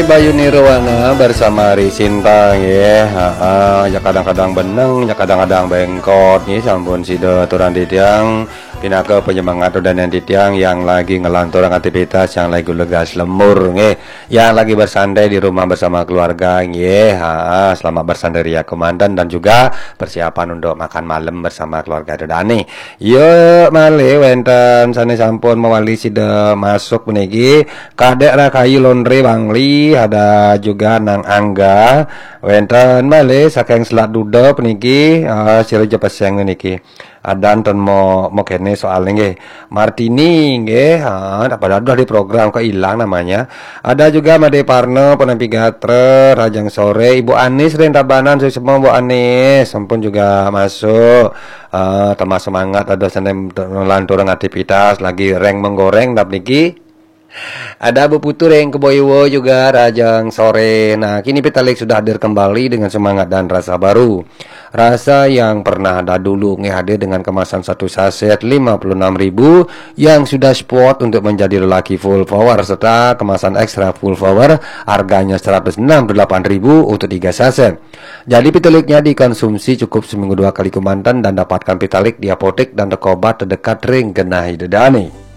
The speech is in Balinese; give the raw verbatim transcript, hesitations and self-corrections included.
Bayu Nirwana bersama Risinta nggih. Heeh, ya kadang-kadang beneng, ya kadang-kadang bengkot nggih, sampun sida aturang titiang pinaka penyemangat udaning titiang yang lagi ngelanturang aktivitas, yang lagi legas lembur nggih, yang lagi bersantai di rumah bersama keluarga nggih. Ha, selamat bersantai ria kemanten dan juga persiapan untuk makan malam bersama keluarga dane. Ya, malih wenten sane sampun mawali sida masuk puniki. Kadek Rakayu Londre Bangli, ada juga Nang Angga. Wenten malih saking Selat Duda puniki, ah, sira ja peseng niki. Adan ten mo, mo kene soal nggih. Martini nggih, ha, tak pada dah di program kok hilang namanya. Ada juga Made Parno, Penampi Gatra, Rajang Sore, Ibu Anis ring Tabanan, suksma Bu Anis, sampun juga masuk. Ah, tambah semangat ada sane lanturang aktivitas lagi reng menggoreng dap niki. Ada Bu Putu ring Kebo Iwa juga, Rajang Sore. Nah, kini Pitalik sudah hadir kembali dengan semangat dan rasa baru. Rasa yang pernah ada dulu nggih hadir dengan kemasan satu saset lima puluh enam ribu yang sudah spot untuk menjadi lelaki full power serta kemasan ekstra full power harganya seratus enam puluh delapan ribu untuk tiga saset. Jadi Pitaliknya dikonsumsi cukup seminggu dua kali kemanten dan dapatkan Pitalik di apotek dan toko obat terdekat ring genah ida dane.